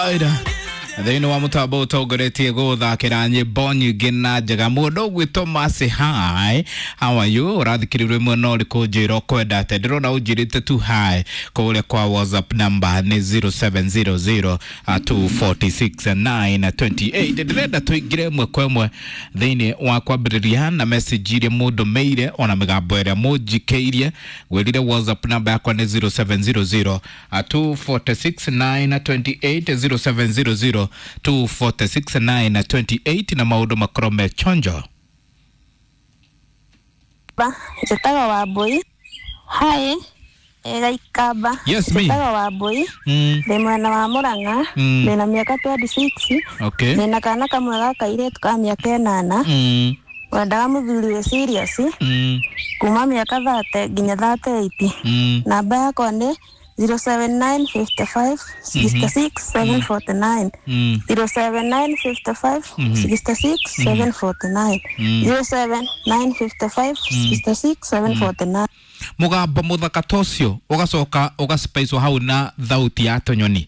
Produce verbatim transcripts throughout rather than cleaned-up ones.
Alright. Thĩinĩ wa mũtambo ũtongoretie gũthakĩra nyĩmbo nyingĩ na njega mũndũ ũgwĩtwo Mercy, hi, how are you? Ũrathikĩrĩria rwĩmbo no ũrĩkũ njĩra ũkwenda atĩa? Ndĩrona ũnjĩrĩte tu hi kũrĩa kwa WhatsApp number nĩ zero seven zero zero two forty six nine twenty eight. Ndĩrenda tũingĩre ĩmwe kwa ĩmwe thĩinĩ wa kwambĩrĩria na message iria mũndũmĩire ona mĩgambo ĩrĩa mũnjikĩirie. Ngwĩrire WhatsApp number yakwa nĩ zero seven zero zero two forty six nine twenty eight, zero seven zero zero two forty six nine twenty eight, na maũndũ makorwo me chonjo. Ba, njĩtagwo Wambũi. Hi, Gaikamba. Yes, me. Njĩtagwo Wambũi. Mm. Ndĩ mwena wa Murang'a. Mm. Ndĩna mĩaka twenty six. Okay. Ndĩna kana kamwe ga kairĩtu ka mĩaka ĩnana. Mm. Wendaga mũthuri wĩ serious Mm. kuma mĩaka thirty nginya thirty eight. Mm. Namba yakwa nĩ zero seven nine fifty five sixty six seven forty nine. Mm. zero seven nine fifty five sixty six seven forty nine. Mm. zero seven nine fifty five sixty six seven forty nine. Mũgambo mũthaka ta ũcio ũgacoka ũgacipaicwo hau na thauti ya tũnyoni.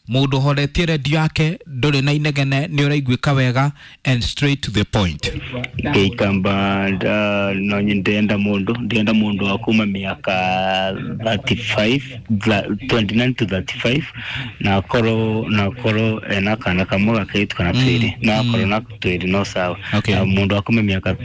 Mũndũ ũhoretie redio yake ndũrĩ na inegene, nĩ ũraiguĩka wega and straight to the point. Gĩikamba nda no ndĩrenda mũndũ ndĩrenda mũndũ wa kuma mĩaka thirty five twenty nine to thirty five na akorwo na akorwo ena kana kamwe gakairĩtu kana twĩrĩ, na akorwo na twĩrĩ no sawa. Okay. Na mũndũ wa kuma mĩaka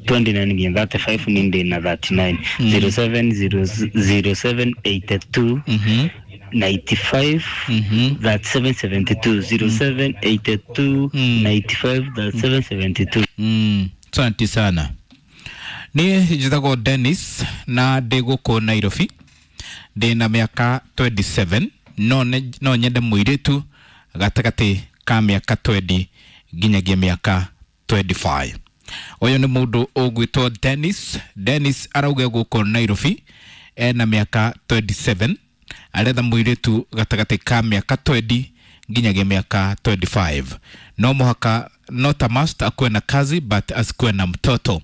twenty nine nginya thirty five ni ndĩ na thirty nine zero seven zero zero seven eighty two Mhm. ninety five Mhm. thirty seven seventy two zero seven eighty two Mm. ninety five thirty seven seventy two. Mm, asante sana. Niĩ njĩtagwo Dennis na ndĩ gũkũ Nairobi, ndĩ na mĩaka twenty seven, no, ne- no nyende mũirĩtu gatagatĩ ka mĩaka twenty nginyagia mĩaka twenty five. Ũyũ nĩ mũndũ ũgwĩtwo Dennis. Dennis arauga gũkũ Nairobi ena mĩaka twenty seven, aretha mũirĩtu gatagatĩ ka mĩaka twenty nginyagia mĩaka twenty five. No mũhaka, not a must akuwe na kazi but asikuwe na mtoto.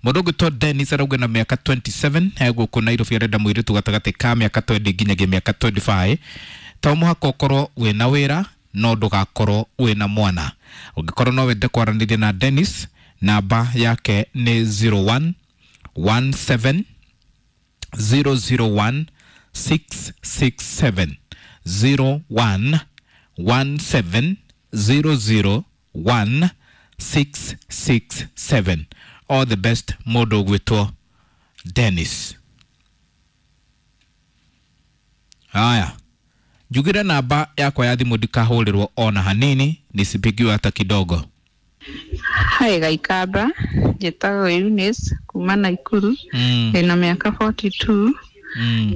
Mũndũ ũgwĩtwo Dennis arauga na mĩaka twenty seven e gũkũ Nairobi, arenda mũirĩtu gatagatĩ ka mĩaka twenty nginyagia mĩaka twenty five. To mũhaka ũkorwo wĩna wĩra no ndũgakorwo wĩna mwana. Ũngĩkorwo no wende kwaranĩria na Dennis, namba yake nĩ zero one one seven zero zero one six six seven, zero one one seven zero zero one six six seven. All the best mũndũ ũgwĩtwo Dennis. Haya, njugire namba yakwa ya thimũ ndikahũrĩrwo ona hanini, nisipigiwe hata kidogo. Hi Gaikamba, njĩtagwo Eunice kuma Naikuru. Mm. Ndĩna mĩaka forty two. Mm.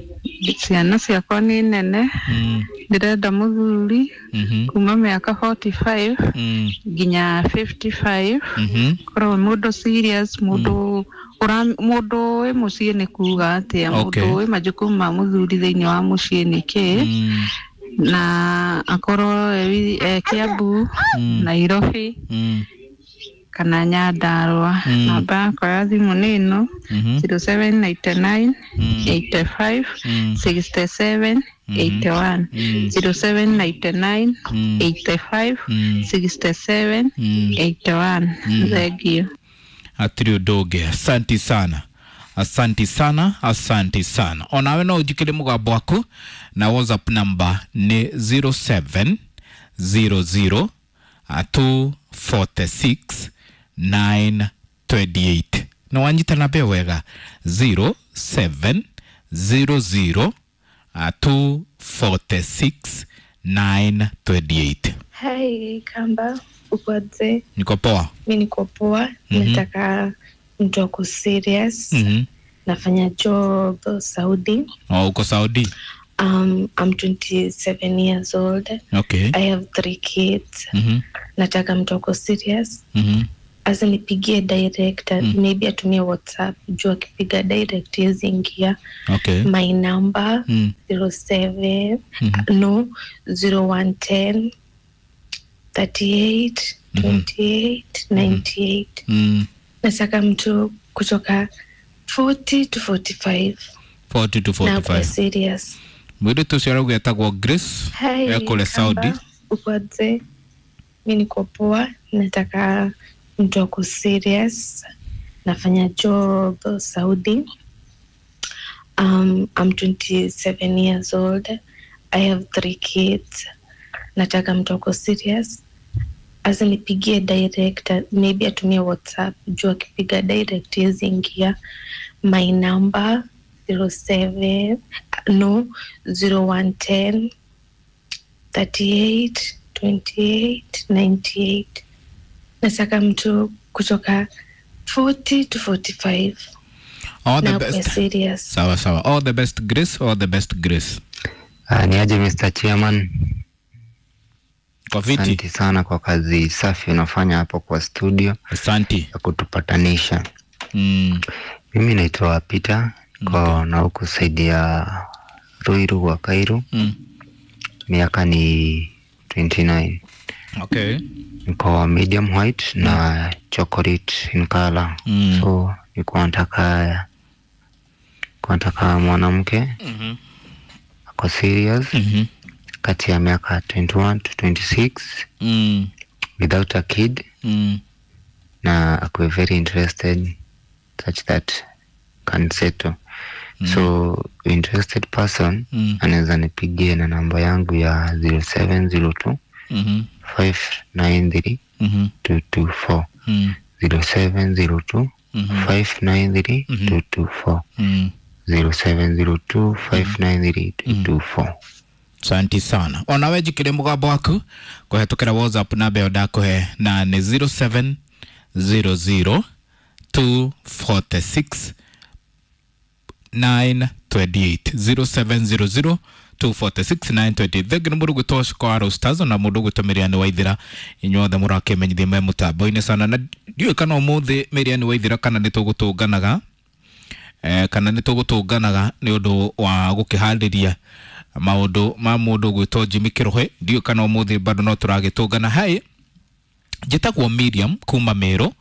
Ciana ciakwa nĩ nene. Mm. Ndĩrenda mũthuri Mhm. kuma mĩaka forty five Mm. nginya fifty five. Mhm. Korwo mũndũ serious, mũndũ ũra mũndũ wĩ mũciĩ nĩ kuga atĩa, Okay. mũndũ wĩ majukumu ma mũthuri thĩinĩ wa mũciĩ nĩ kĩ, Mm. na akorwo e, e Kiambu, Mm. Nairobi Mm. kana Nyandarua. Mm. Namba yakwa ya thimũ nĩ ĩno Mhm. zero seven ninety nine Mm. eighty five Mm. sixty seven eighty one Mm. zero seven ninety nine Mm. eighty five Mm. sixty seven Mm. eighty one. Mm. Thank you. Hatirĩ ũndũ ũngĩ. Asanti sana, asanti sana, asanti sana. Onawe no ũnjikĩre mũgambo waku na WhatsApp number nĩ zero seven zero zero two forty six nine twenty eight. Nĩ wanyita namba ĩyo wega, zero seven zero zero two forty six nine twenty eight. Hi Kamba, uko aje? Niko poa. Mi niko poa. Mhm. Nataka mtu ako serious. Mhm. Nafanya job Saudi. Oh, uko Saudi? Um, I'm twenty-seven years old. Okay. I have three kids. Mhm. Nataka mtu ako serious. Mhm. Asa nipigie direct, Mm. maybe atumie WhatsApp juu akipiga direct hawezi ingia. Okay. My number Mm. zero seven Mhm. no zero one ten thirty eight Mhm. twenty eight ninety eight. Mm. Nataka mtu kutoka forty to forty five forty to na akuwe forty-five. serious. Mũirĩtu ũcio arauga etagwo Grace. Hi, ekũrĩa Saudi. Kamba, uko aje? Mi niko poa, nataka mtu ako serious. Nafanya job Saudi. Um, I'm twenty-seven years old. I have three kids. Nataka mtu ako serious. Asinipigie direct, maybe atumie WhatsApp. Juu akipiga direct hawezi ingia. My number zero seven no zero one ten thirty-eight twenty-eight ninety-eight. Nataka mtu kutoka forty to forty-five. All the Na akuwe best. serious. Sawa sawa. All the best Grace, all the best Grace. Ah, ni aje Mister Chairman? Kwa viti. Asante sana kwa kazi safi unafanya hapo kwa studio. Asante. Ya kutupatanisha. Mm. Mimi naitwa Peter kwa okay. Na huku saidia Ruiru wa Kairu. Mm. Miaka ni twenty-nine. Okay. Niko medium white mm. na chocolate in color. Mm. So niko nataka niko nataka mwanamke mm-hmm. ako serious mm-hmm. kati ya miaka twenty-one to twenty-six mm. without a kid mm. na akuwe very interested such that can settle. Mm. So interested person mm. anaweza nipigie na namba yangu ya zero seven zero two mm-hmm. five nine three mm-hmm. two two four mm. zero seven zero two mm-hmm. five nine three mm-hmm. two two four mm. zero seven zero two five nine three two two four. Asante sana. Onawe njikire mũgambo waku kũhetũkĩra WhatsApp namba ĩyo ndakũhe na nĩ zero seven zero zero two four six nine twenty eight zero seven zero zero two four six nine twenty eight. Thengi nĩ mũndũ gwĩtwo Shiko wa Roasters na mũndũ gwĩtwo Miriam Waithira, inyuothe mũrakĩmenyithia me mũtambo-inĩ sana, na ndiũĩ kana ũmũthĩ Miriam Waithira kana nĩ tũgũtũnganaga eh, kana nĩ tũgũtũnganaga nĩ ũndũ wa gũkĩharĩria maũndũ ma mũndũ gwĩtwo Jimmy Kĩrũhĩ. Ndiũĩ kana ũmũthĩ bado no tũragĩtũngana. Hai, njĩtagwo Miriam kuma Meru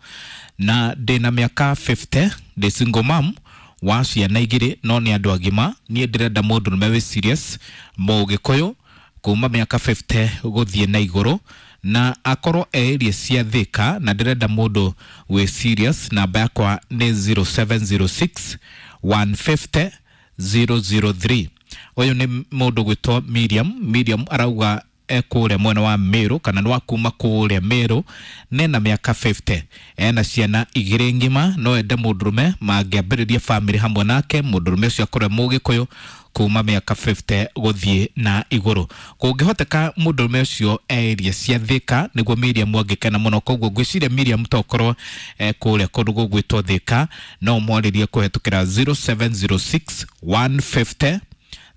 na ndĩna mĩaka fifty, ndĩ single mom wa ciana igĩrĩ no nĩ andũ agima. Niĩ ndĩrenda mũndũrũme wĩ serious mũgĩkũyũ kuma mĩaka fifty gũthiĩ na igũrũ na akorwo area cia Thika, na ndĩrenda mũndũ wĩ serious. Namba yakwa nĩ zero seven zero six one fifty zero zero three. Ũyũ nĩ mũndũ gwĩtwo Miriam. Miriam arauga e kũrĩa mwena wa Meru kana nĩ wa kuma kũrĩa Meru, nena mĩaka fifty, ena ciana igĩrĩ ng'ima, no ende mũndũrũme mangĩambĩrĩria family hamwe nake. Mũndũrũme ũcio akorwo mũgĩkũyũ kuma mĩaka fifty gũthiĩ na igũrũ. Kũngĩhoteka mũndũrũme ũcio area cia Thika nĩguo Miriam angĩkena mũno. Koguo ngwĩciria Miriam tokorwo e kũrĩa kũndũ gũgwĩtwo Thika, no mwarĩrie kũhetũkĩra zero seven zero six one fifty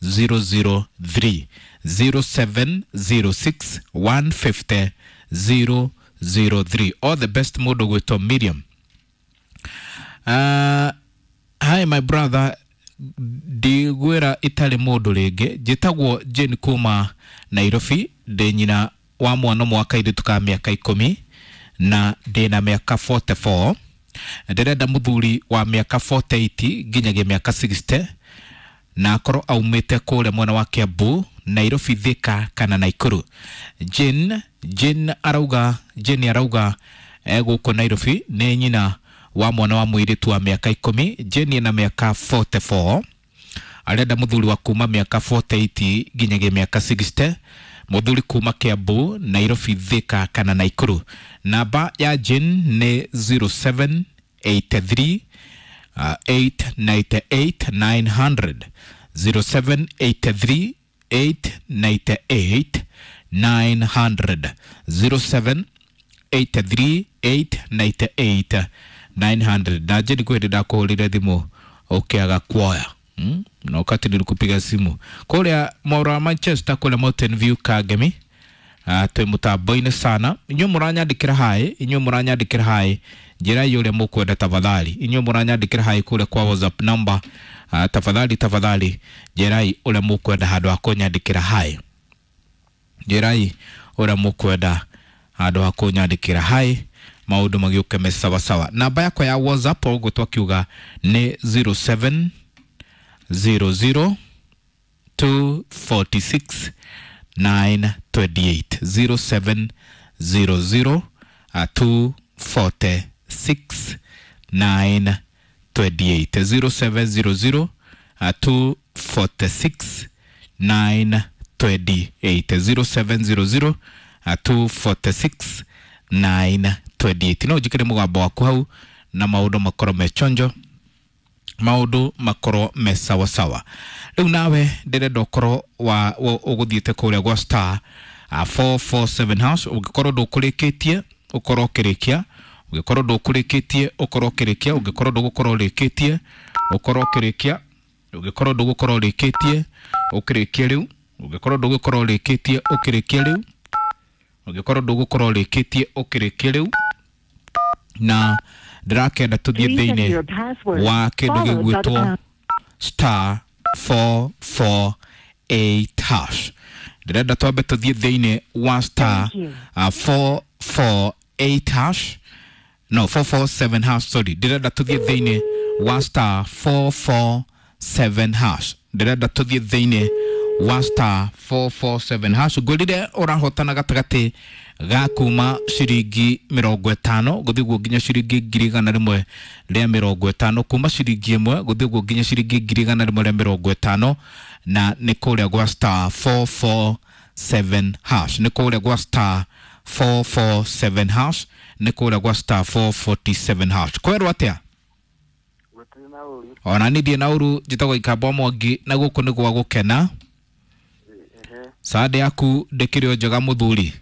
zero zero three zero seven zero six one fifty zero zero three. All the best mũndũ gwĩtwo Miriam. Uh, hi my brother, ndigwĩra itarĩ mũndũ rĩngĩ. Njĩtagwo Jane kuma Nairobi, ndĩ nyina wa mwana ũmwe wa kairĩtu ka mĩaka ikũmi na ndĩna mĩaka forty-four. Ndĩrenda mũthuri wa mĩaka forty-eight nginyagia mĩaka sixty na akorwo aumĩte kũrĩa mwena wa Kiambu, Nairobi, Thika kana Naikuru. Jane, Jane arauga, Jane arauga e gũkũ Nairobi, nĩ nyina wa mwana wa mũirĩtu wa mĩaka ikũmi. Jane ena mĩaka forty-four, arenda mũthuri wa kuma mĩaka forty-eight nginyagia mĩaka sixty, mũthuri kuma Kiambu, Nairobi, Thika kana Naikuru. Namba ya Jane nĩ zero seven eight three Uh, eight ninety-eight nine hundred zero seven eight three eight ninety-eight nine hundred zero seven eight three eight ninety-eight nine hundred. Na je nikuhĩndĩ ndakũhũrĩre thimũ ũkĩaga kuoya hmm? Na wakati nilikupiga simu kũrĩa mwaro wa Manchester kũrĩa Mountain View Kangemi. Uh, twĩ mũtambo-inĩ sana. Inyuĩ mũranyandĩkĩra haĩ, inyuĩ mũranyandĩkĩra haĩ, njĩra ĩ ũrĩa mũkwenda tafadhali. Inyuĩ mũranyandĩkĩra haĩ kũrĩa kwa WhatsApp number, uh, tafadhali tafadhali njĩra ĩ ũrĩa mũkwenda handũ ha kũnyandĩkĩra haĩ. Njĩra ĩ ũrĩa mũkwenda handũ ha kũnyandĩkĩra haĩ, maũndũ magĩũke me sawa sawa. Namba yakwa ya WhatsApp ũguo twakiuga nĩ zero seven zero zero two forty six nine twenty eight zero seven zero zero two forty six nine twenty eight zero seven zero zero two forty six nine twenty eight zero seven zero zero two forty six nine twenty eight. No njikire mũgambo waku hau na maũndũ makorwo me chonjo, maũndũ makorwo me sawasawa. Rĩu nawe ndĩrenda ũkorwo wa ũgũthiĩte kũrĩa gwa star four four seven hash. Ũngĩkorwo ndũkũrĩkĩtie ũkorwo ũkĩrĩkia, ũngĩkorwo ndũkũrĩkĩtie ũkorwo ũkĩrĩkia, ũngĩkorwo ndũgũkorwo ũrĩkĩtie ũkorwo ũkĩrĩkia, ũngĩkorwo ndũgũkorwo ũrĩkĩtie ũkĩrĩkie rĩu, ũngĩkorwo ndũgũkorwo ũrĩkĩtie ũkĩrĩkie rĩu, ũngĩkorwo ndũgũkorwo ũrĩkĩtie ũkĩrĩkie rĩu. Na ndĩrakenda tũthiĩ thĩinĩ wa kĩndũ gĩgwĩtwo star four four eight hash. Ndĩrenda twambe tũthiĩ thĩinĩ wa star four four eight hash, no four four seven hash, sorry. Ndĩrenda tũthiĩ thĩinĩ wa star four four seven hash. Ndĩrenda tũthiĩ thĩinĩ wa star four four seven hash. Ngwĩrire ũrahotana gatagatĩ ga kuma ciringi mĩrongo ĩtano gũthiĩ guo nginya ciringi ngiri igana rĩmwe rĩa mĩrongo ĩtano, kuma ciringi ĩmwe gũthiĩ guo nginya ciringi ngiri igana rĩmwe rĩa mĩrongo ĩtano, na nĩ kũrĩa gwa star four four seven hash, nĩ kũrĩa gwa star four four seven hash, nĩ kũrĩa gwa star four forty seven hash. Kwerwo atĩa? Ona niĩ ndirĩ na ũru, njĩtagwo Ikamba Mwangi na gũkũ nĩ gwa gũkena. Sande yaku ndĩkĩrĩ o njega mũthuri?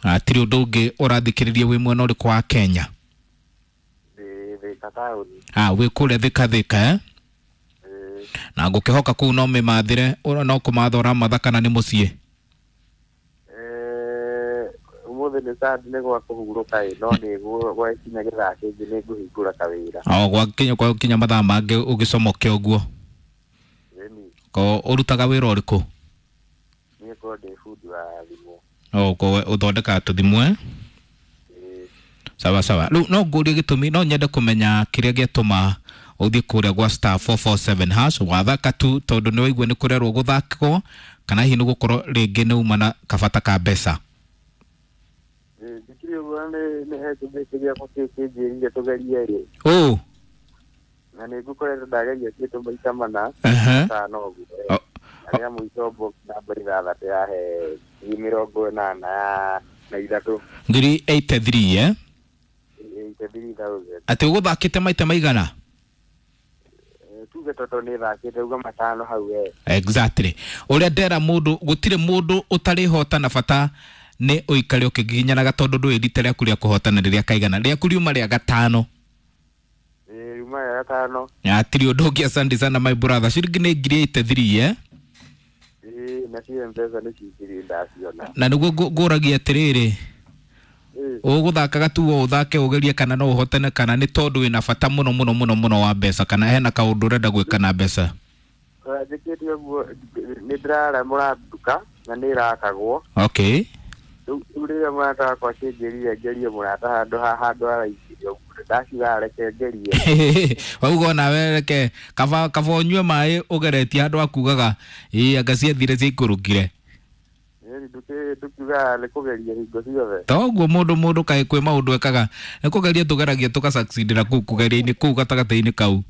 Hatirĩ ũndũ ũngĩ ũrathikĩrĩria wĩ mwena ũrĩkũ wa Kenya? Ah, wĩ kũrĩa Thika Thika eh? Na ngũkĩhoka kũu no mĩmathĩre, no kũmatha ũramatha kana nĩ mũciĩ? Ũmũthĩ nĩ Sande nĩ gwa kũhurũka ĩ, no nĩ gwakinya gĩthaa kĩngĩ nĩ ngũhingũra kawĩra. O gwakinya gwakinya mathaa mangĩ ũgĩcomoke ũguo? Ko ũrutaga wĩra ũrĩkũ? Niĩ ngoragwo ndĩ bundi wa thimũ. O ko ũthondekaga tũthimũ eh? Sawa sawa. Rĩu no ngũrie gĩtũmi, no nyende kũmenya kĩrĩa gĩatũma ũthiĩ kũrĩa gwa star four four seven hash wathaka tu tondũ nĩ waigua nĩ kũrerwo gũthakwo, kana hihi nĩ gũkorwo rĩngĩ nĩ uma na kabata ka mbeca? Ndikĩrĩ ũguo, nĩ he kĩndũ gĩakwa kĩnjĩrire tũgerie rĩ. Ũ na nĩ ngũkoretwo ndageria kĩndũ maita mana matano ũguo. Na rĩa mũico box namba ithathatũ yahe ngiri mĩrongo ĩnana na ithatũ. Ngiri eighty three eh? Eighty three thousand. Atĩ ũgũthakĩte maita maigana? Tuge toto nĩ thakĩte uga matano hau we. Exactly. Ũrĩa ndera mũndũ, gũtirĩ mũndũ ũtarĩhota na bata nĩ ũikare ũkĩgiginyanaga tondũ ndũĩ rita rĩaku rĩa kũhotana rĩrĩa kaigana. Rĩaku riuma rĩa gatano. Riuma rĩa gatano. Hatirĩ ũndũ ũngĩ, asante sana my brother. Ciringi nĩ ngiri eighty three eh? Ĩĩ, nacio mbeca nĩ cingiri ndaciona. Na nĩguo ngũragia atĩrĩrĩ, ũgũthakaga tu o ũthake ũgerie kana no ũhotane, kana nĩ tondũ wĩna bata mũno mũno mũno mũno wa mbeca, kana hena kaũndũ ũrenda gwĩka na mbeca? Njĩkĩte ũguo nĩ ndĩraramũra nduka na nĩ ĩrakagwo. Okay. Rĩu rĩrĩa mũrata wakwa akĩnjĩrire ngerie mũrata handũ handũ araicirie ũguo, ndaciuga reke ngerie. Wauga onawe reke kaba kaba ũnyue maĩ ũgeretie handũ akugaga ĩĩ anga ciathire ciaikũrũkire. Ndũkiugaga nĩ kũgeria hingo ciothe. Toguo mũndũ mũndũ kaĩ kwĩ maũndũ ekaga nĩ kũgeria tũgeragia tũgasucceedĩra kũu kũgeria-inĩ kũu gatagatĩ-inĩ kau.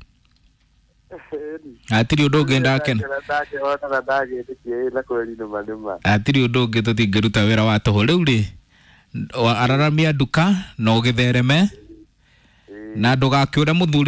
Hatirĩ ũndũ ũngĩ ndakena. Ndakĩhotana ndagĩtĩkia ĩ na kweri nĩma nĩma. Hatirĩ ũndũ ũngĩ tũtingĩruta wĩra wa tũhũ. Rĩu rĩ, araramia nduka na ũgĩthereme na ndũgakĩũre mũthuri.